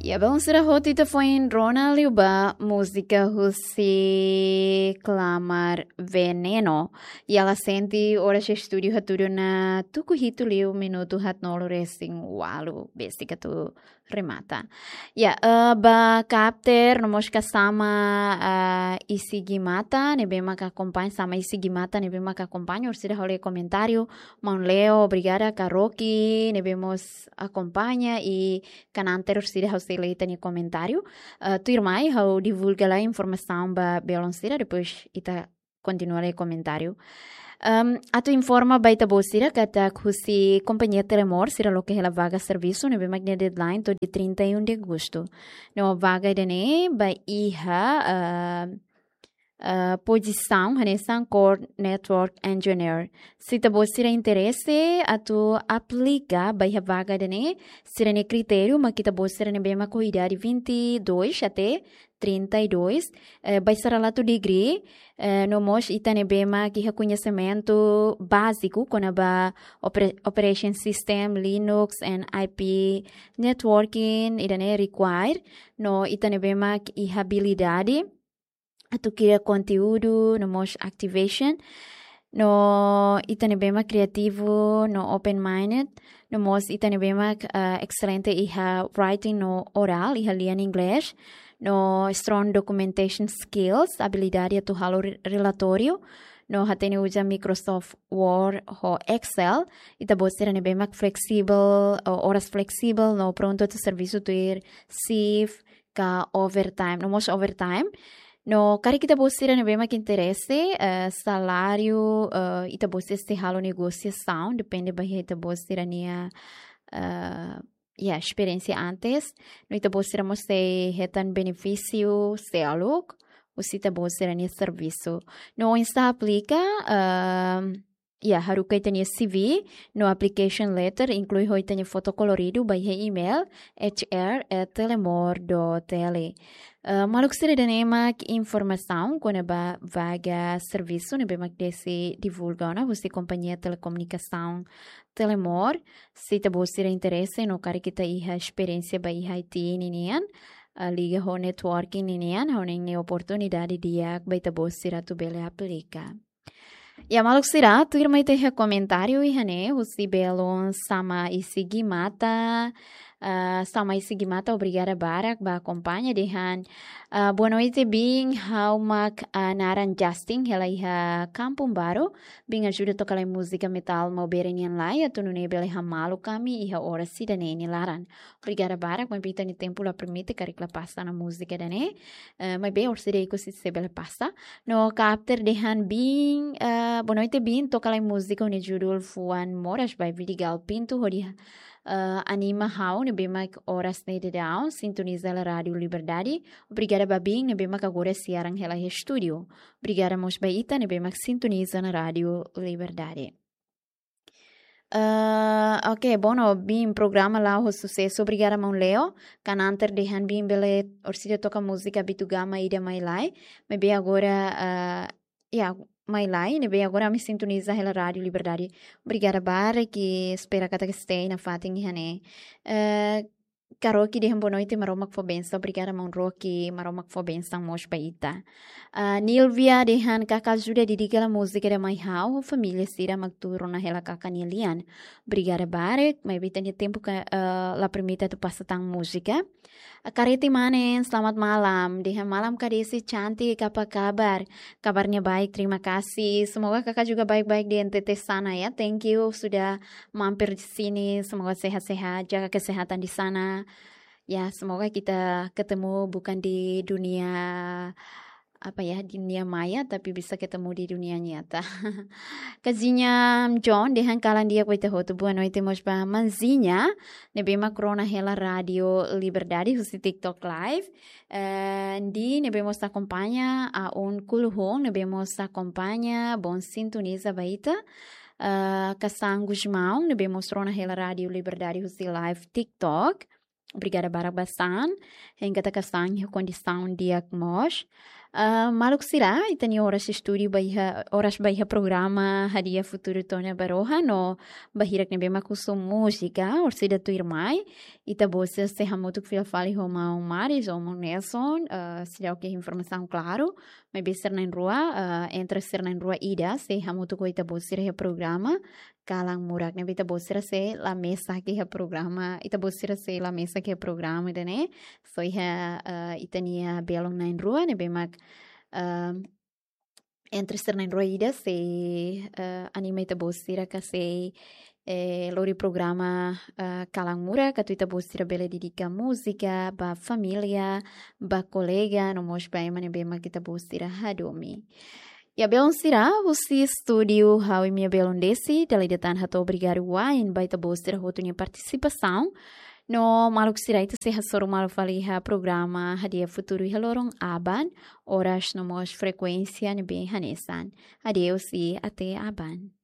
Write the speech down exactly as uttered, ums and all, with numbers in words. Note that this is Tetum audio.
Ya, belun sira, hotu ita foin rona liu ba múzika husi Klamar Veneno. Ya, la sente oras estúdiu hatudu ona tuku hitu liu minutu haatnulu resin ualu, besik atu remata. Ya, eh, ba kapten no mós kasama, eh, Isigimata, ne'ebé mak akompaña, sama Isigimata, ne'ebé mak akompaña, orsida halo komentáriu, maun Leo, obrigada, Karoki, ne'ebé mós akompaña, i kananter orsida ha'u sei lee ita-nia komentáriu. Eh, tuirmai, ha'u divulga lai informasaun ba belun sira, depois ita kontinua lee komentáriu. Em, atu informa ba ita-boot sira katak husi kompañia Telemor sira loke hela vaga servisu ne'ebé mak nia deadline to'o dia trinta e um de agosto. No vaga ida-ne'e ba iha, eh, eh, pozisaun hanesan Core Network Engineer. Se ita-boot sira interese atu aplika ba iha vaga ida-ne'e, sira-nia kritériu mak ita-boot sira ne'ebé mak ho idade vinte e dois até trinta e dois, eh, ba iha saralatu degree, eh, no mós ita ne'ebé mak iha koñesimentu báziku kona-ba opera-, operation system, Linux and I P networking, ida-ne'e require, no ita ne'ebé mak iha abilidade atu kria konteúdu, no mós activation, no ita ne'ebé mak kriativu, no open-minded, no mós ita ne'ebé mak, eh, excelente iha writing no oral, iha lian inglés, no strong documentation skills, abilidade atu halo re-, relatóriu, no hatene uza Microsoft Word ho Excel, ita-boot sira ne'ebé mak flexible, o-, oras flexible, no prontu atu servisu tuir shift ka overtime, no mós overtime. No karik ita-boot sira ne'ebé mak interese, eh, saláriu, eh, ita-boot sira sei halo negosiasaun, depende ba iha ita-boot sira-nia, eh, ya, esperiénsia antes. No ita-boot sira mós sei hetan benefísiu seluk husi ita-boot sira-nia servisu. No oinsá aplika, eh, ya, haruka ita-nia C V no application letter, inklui ho ita-nia foto koloridu ba iha email H R at telemor dot T L. Eh, maluk sira, ida-ne'e mak informasaun kona-ba vaga servisu ne'ebé mak deside divulga ona husi kompañia telekomunikasaun Telemor. Se ita-boot sira interese no karik ita iha esperiénsia ba iha I T ninian, eh, liga ho networking ninian, ha'u hanoin ne'e oportunidade di'ak ba ita-boot sira atu bele aplika. Ya, maluk sira, tuirmai ita iha komentáriu iha ne'e, husi belun Sama Isigimata, ah, Sama Isigimata, obrigada barak ba akompaña dehan, ah, boa noite, biin, ha'u mak, ah, naran Justin, hela iha Kampung Baru, biin ajuda toka lai múzika metal Maubere nian lai, atu nune'e bele hamaluk ami iha oras ida-ne'e nia laran. Obrigada barak, maibé ita-nia tempu la permite, karik la pasa ona múzika ida-ne'e. Eh, maibé orsida ikus sei bele pasa. No kapten dehan biin, eh, boa noite, biin, toka lai múzika ho nia judul Fuan Moras by Vidigal Pinto, hodi, eh, anima ha'u ne'ebé mak oras ne'e daudaun sintoniza hela Rádiu Liberdade. Obrigada ba biin ne'ebé mak agora siaran hela iha estúdiu. Obrigada mós ba ita ne'ebé mak sintoniza ona Rádiu Liberdade. Eh, ok, bom, no, biin, programa la'o ho susesu, obrigada maun Leo. Kananter dehan biin bele orsida toka múzika Bitu Gama ida Mai Lai. Maibé agora, eh, ya, Mai Lai, ne'ebé agora ami sintoniza hela Rádiu Liberdade. Obrigada barak, espera katak stay nafatin iha ne'e. Eh, Karoki dehan boa noite, Maromak fó bensaun. Obrigada maun Roki, Maromak fó bensaun mós ba ita. Ah, Nilvia dehan karik ajuda dedika hela múzika ida mai ha'u, família sira mak tuur ona hela karik nia lian. Obrigada barak, maibé ita-nia tempu ka, eh, la permite atu pasa tan múzika. Ah, Kareti Manen, selamat malam. Dehan malam Kak Desi cantik, apa kabar? Kabarnya baik, terima kasih. Semoga kakak juga baik-baik di N T T sana ya. Thank you sudah mampir di sini. Semoga sehat-sehat, jaga kesehatan di sana. Ya, semoga kita ketemu bukan di dunia, apa ya, dunia maya, tapi bisa ketemu di dunia nyata. Kazinha John, dehan kalan di'ak ba ita hotu. Boa noite mós ba Manzinha, ne'ebé mak rona hela Rádiu Liberdade husi TikTok Live. Eh, Ndi, ne'ebé mós akompaña, Aun Kuluhun, ne'ebé mós akompaña, bom sintoniza ba ita. Eh, Kasan Gusmão, ne'ebé mós rona hela Rádiu Liberdade husi live TikTok. Obrigada barak ba San. Hein katak San iha kondisaun di'ak mós. Ah, maluk sira, ita-nia oras estúdiu ba iha, oras ba iha programa Hadi'a Futuru to'o ona ba rohan, no ba hirak ne'ebé mak husu múzika, orsida tuirmai, ita-boot sira sei hamutuk fila fali ho maun Maris ou maun Nelson, ah, seidauk iha informasaun klaru, maibé sira na'in-rua, ah, entre sira na'in-rua ida sei hamutuk ho ita-boot sira iha programa Kalan Murak ne'ebé ita-boot sira sei la mesak iha programa, ita-boot sira sei la mesak iha programa ida-ne'e. Só iha, eh, ita-nia belun na'in-rua ne'ebé mak, eh, entre sira na'in-rua ida sei, eh, anima ita-boot sira ka sei, eh, lori programa, eh, Kalan Murak, atu ita-boot sira bele dedika múzika ba família, ba kolega, no mós ba ema ne'ebé mak ita-boot sira hadomi. Iha belun sira, husi estúdiu ha'u imi-nia belun Desi, dala ida tan hato'o obrigadu wa'in ba ita-boot sira hotu nia partisipasaun. No maluk sira, ita sei hasoru malu fali iha programa Hadi'a Futuru iha loron aban, oras no mós frekuénsia ne'ebé hanesan. Adeus i até aban.